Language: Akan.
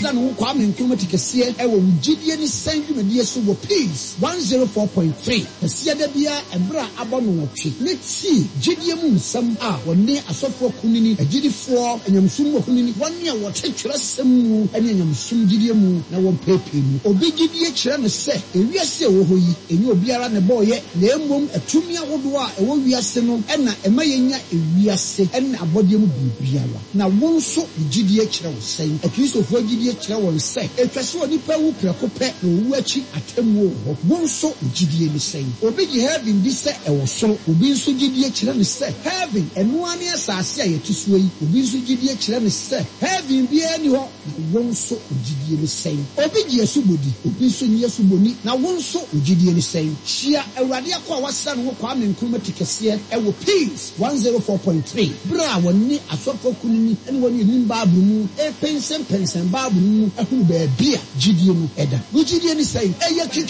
wasra ne ho Kwame Nkrumah ti kɛseɛ wɔ Wo Gyidie Ne Sɛn dwumadie so wɔ Peace 104.3 Kwasiada biara ɛberɛ a abɔ nnɔnwɔtwe ne tie gyidie mu nsɛm a wɔne asɔfoɔ akunini, agyidifoɔ, anyamesom mu akunini, wɔne a wɔte twerɛsɛm mu ne anyamesom gyidie mu na wɔmpeepee mu. Obi gyidie kyerɛ no sɛ ewiase a ɛwɔ hɔ yi, ɛnyɛ obiara na ɛbɔeɛ na mmom atumi ahodoɔ a ɛwɔ wiase no na ɛma yɛnya ewiase ne abɔdeɛ mu biribiara. Na wo nso wo gyidie kyerɛ wo sɛn? Akristofoɔ gyidie kyerɛ wɔn sɛ ɛtwa sɛ onipa wu prɛko pɛ na owu akyi atemmuo wɔ hɔ. Wo nso wo gyidie ne sɛn? Obi gye heaven di sɛ ɛwɔ soro. Obi nso gyidie kyerɛ no sɛ heaven, ɛno ara ne asase a yɛte soɔ yi. Obi nso gyidie kyerɛ no sɛ heaven biara nni hɔ. Na wo nso wo gyidie ne sɛn? Obi gye asubɔ di, obi nso nnye asubɔ nni. Na wo nso wo gyidie ne sɛn? Hyia Awurade akoa a wasra ne ho Kwame Nkrumah ti kɛseɛ wɔ Peace 104.3 berɛ a wɔne asɔfoɔ akunini ne wɔn a ɛnim Bible mu repɛnsɛmpɛnsɛn Bible no mu ahunu baabi a gyidie no da. Wo gyidie ne sɛn? Ɛyɛ kiki.